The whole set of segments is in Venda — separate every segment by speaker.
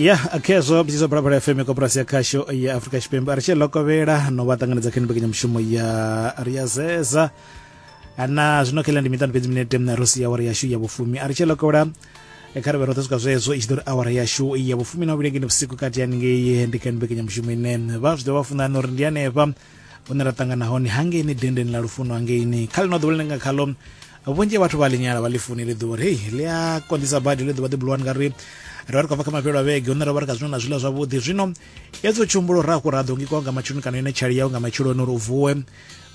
Speaker 1: Ya khezwo mbidzo Phalaphala FM, koporasi ya khasho ya Afrika Tshipembe. A ri tshi lokovhela no vha ṱanganedza kha mbekanyamushumo ya ri ya zeza na zwino kheḽa ndi miṱanu fhedzi minete ro sia awara yashu ya vhufumi. A ri tshi lokovhela kha ri vhe roṱhe swika zwezwo i tshi ḓo ri awara yashu ya vhufumi na vhuvhili ngeni vhusiku kati haningei ndi kha mbekanyamushumo ine vha zwi ḓo vha funani uri ndi hanefha hune ra ṱangana hone hangeini dendeni ḽa lufuno hangeini kha ḽino ḓuvha ḽine nga khaḽo vhunzhi ha vhathu vha ḽi nyala vha ḽi funi ḽi ḓuvha uri hei ḽi a konḓisa badi ḽi ḓuvha ḓi bulwani ngauri ri vha ri khou bva kha mafhelo a vhege hune ra vha ri kha zwino na zwiḽiwa zwavhuḓi. Zwino hezwo tshihumbulo ra hafhu ra ḓo ngikiwa nga matsheloni kana yone tshali yau nga matsheloni uri u vuwe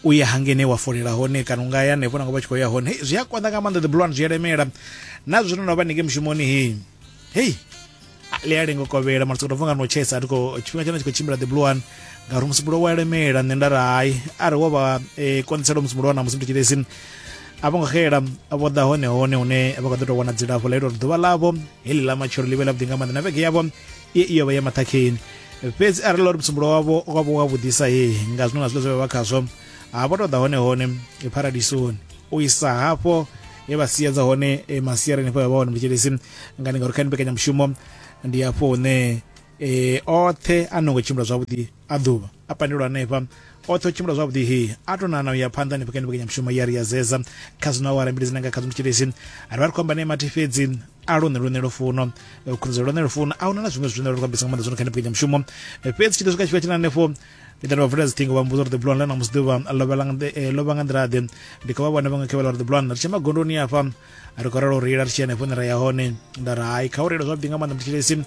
Speaker 1: u ye hangeini wa folela hone kana u nga ya hanefho nangwe vha tshi khou ya hone. Hei zwi a konḓa nga maanḓa ḓi bulwani, zwi a lemela na zwino no vha ningei mushumoni hei hei ḽi a lenga u kovhela mara sokou tou nga no tshesa thi khou tshifhinga tshone tshi khou tshimbila the blue one ngauri musumbulowo wa lemela. Nṋe nda ri hai a ri wo vha konḓisela musumbulowo na musi mthetshelesi a vho ngo xela vho ḓa hone hone hune vha kho ḓo tou wana dzilafho ḽa ita uri ḓuvha ḽavho heḽi ḽa matshelo ḽi vhe ḽavhuḓi nga maanḓa na vhege yavho i iyo vha ya maṱhakheni. Fhedzi arali ḽa uri musumbulowo wavho wavho wa vhuḓisa he nga zwino na zwiḽa zwe vha vha khazwo ha vho tou ḓa hone hone paradisoni u isa hafho he vha siedza hone masiari hanefho vha hone mthetshelesi ngani ngauri kha mbekanyamushumo ndi hafho hune oṱhe a no ngo tshimbila zwavhuḓi a ḓuvha a pandelwa hanefha oṱhe o tshimbila zwavhuḓi he a to nana u ya phanḓa hanefho kha mbekanyamushumo ya ri ya zeza kha zwino awara mbili dzine nga kha mthetshelesi ri vha ri khou amba nae mathi fhedzi a lune lune lufuno khunzi lune lufuno a huna na zwiṅwe zwine ri khou ambisa nga maanḓa zwino kha mbekanyamushumo. Fhedzi tshi ḓo swika tshifhinga tshine hanefho ndi ḓa vha vula dziṱhingo vha mmbudza uri the blue one ḽa ṋamusi ḓuvha ḽo vha nga nḓila-ḓe. Ndi khou vha vhona vhaṅwe khe vha ḽa uri the blue one ri tshe magondoni afha ri khou ralo reila ri tshi hanefho hune ra ya hone. Nda ri hai kha u reila zwavhuḓi nga maanḓa mthetshelesi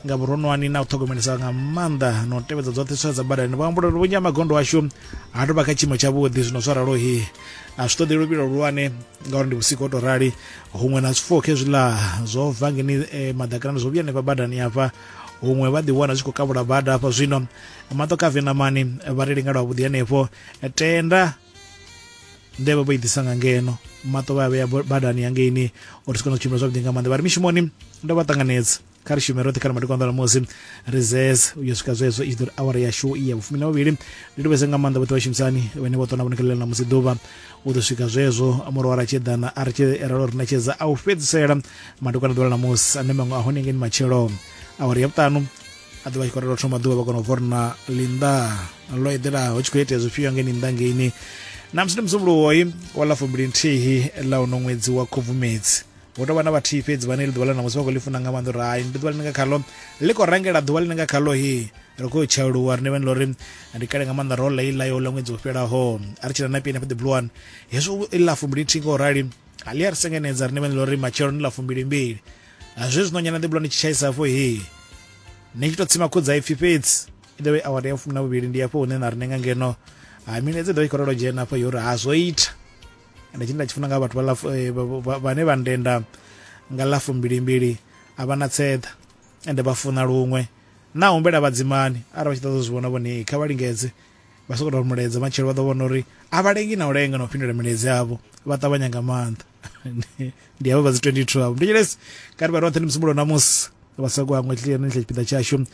Speaker 1: nga vhuronwani na u ṱhogomelesa nga maanḓa na u tevhedza dzoṱhe tswa dza badani. Vha humbula uri vhunzhi ha magondo ashu ha tou vha kha tshiimo tshavhuḓi zwino zwa ralo hi a zwi ṱoḓi luvhilo luhulwane ngauri ndi vhusiku ho tou rali huṅwe na zwifuwo khezwiḽa zwo bva ngeni maḓakanani zwo vhuya hanefha badani hafha huṅwe vha ḓi wana zwi khou kavhula bada hafha. Zwino maṱo kha venamani vha reili nga lwavhuḓi hanefho tenda ndevhe vho i ḓisa nga ngeno maṱo vha vhea badani hangeini uri si kone u tshimbila zwavhuḓi nga maanḓa. Vha ri mishumoni ndo vha ṱanganedza kha ri shume roṱhe kha ri madekwana ḓa musi ri zeze u yo swika zwezwo i tshi ḓo ri awara yashu ya vhufumi na vhuvhili. Ndi livhese nga maanḓa vhoṱhe vhashumisani vhane vho ṱona vhonekhelela na musi ḓuvha u ḓo swika zwezwo murahu ra tshi eḓana a ri tshi ralo ri ṋetshedza a u fhedzisela madekwana ḓuvha ḽa ṋamusi ane maṅwe a hone ngeni matshelo awara ya vhuṱanu a ḓovha tshi khou ralo thoma ḓuvha vha kona u bva uri na ḽinnḓa ḽo eḓelaho tshi khou itea zwifhio ngeni nnḓa ngeini. Na musi ndi musumbuluwoi wa ḽa 21 ḽa uno ṅwedzi wa Khubvumedzi hu tou vha na vhathihi fhedzi vhane ḽi ḓuvha ḽa ṋamusi vha khou ḽi funa nga maanḓa uri hai ndi ḓuvha ḽine nga khaḽo ḽi khou rangela ḓuvha ḽine nga khaḽo hi ri khou tshauluwa rine vhane ḽa uri ndi kale nga maanḓa ro ḽa iḽa yo ḽa ṅwedzi wo fhelaho a ri tshila na pini afha the blue one hezwo iḽa 21 ngo rali a ḽi a ri sengenedza rine vhane ḽa uri matshelo ndi ḽa 22 zwezwi no nyana the blue one tshi tshaisa afho he ni tshi to tsima khudza ipfi fhedzi i ḓo vha awara ya 12 ndi afho hune na rine nga ngeno ha milaedza i ḓo vha i khou ralo dzhena afho yo uri ha zwo ita. Ende tshine nda tshi funa nga vhathu vha vhane vha ndenda nga ḽa 22 a vha na tseḓa ende vha funa luṅwe na humbela vhadzimani arali vha tshi ṱoḓa u zwi vhona vhone kha vha lingedze vha sokou tou mulaedza matshelo vha ḓo vhona uri a vha lengi na u lenga na u fhindula milaedza yavho vha ṱavhanya nga maanḓa. Ndi havho vha dzi 22 avho ndi tshilesi kha ri vha roṱhe ndi musumbulo ṋamusi vha sa hangwe tshine tshipiḓa tshashu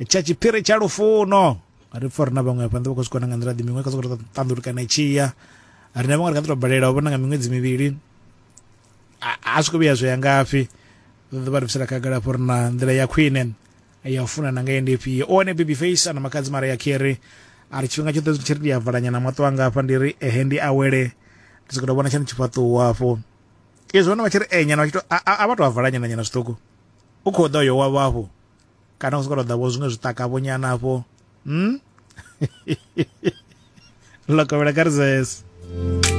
Speaker 1: tsha tshiphiri tsha lufuno ri pfa uri na vhaṅwe hafha nḓa vha khou zwi kona nga nḓila ḓi miṅwe kha sokou ṱanḓulukana tshiya rine vhaṅwe ri kha ḓi tou balela u vhona nga miṅwedzi mivhili a zwi khou vhuya zwo ya ngafhi ḓo vha ri bvisela khagala hafho uri na nḓila ya khwine ya u funana nga ndi ifhio. O wane baby face ana makhadzi mara ya keri a ri tshifhinga tshoṱhe tshi ri ndi a valanyana maṱo anga hafha ndi ri ehe ndi awele ndi sokou tou vhona tshone tshifhaṱuwo hafho izwi vhona vha tshi ri enyana vha tshi to a vha tou a valanyana nyana zwiṱuku u khou ḓa uyo wavho hafho kana u sokou tou ḓa vho zwiṅwe zwiṱaka vho nyana hafho hmm? Ḽo kovhela kha ri zese.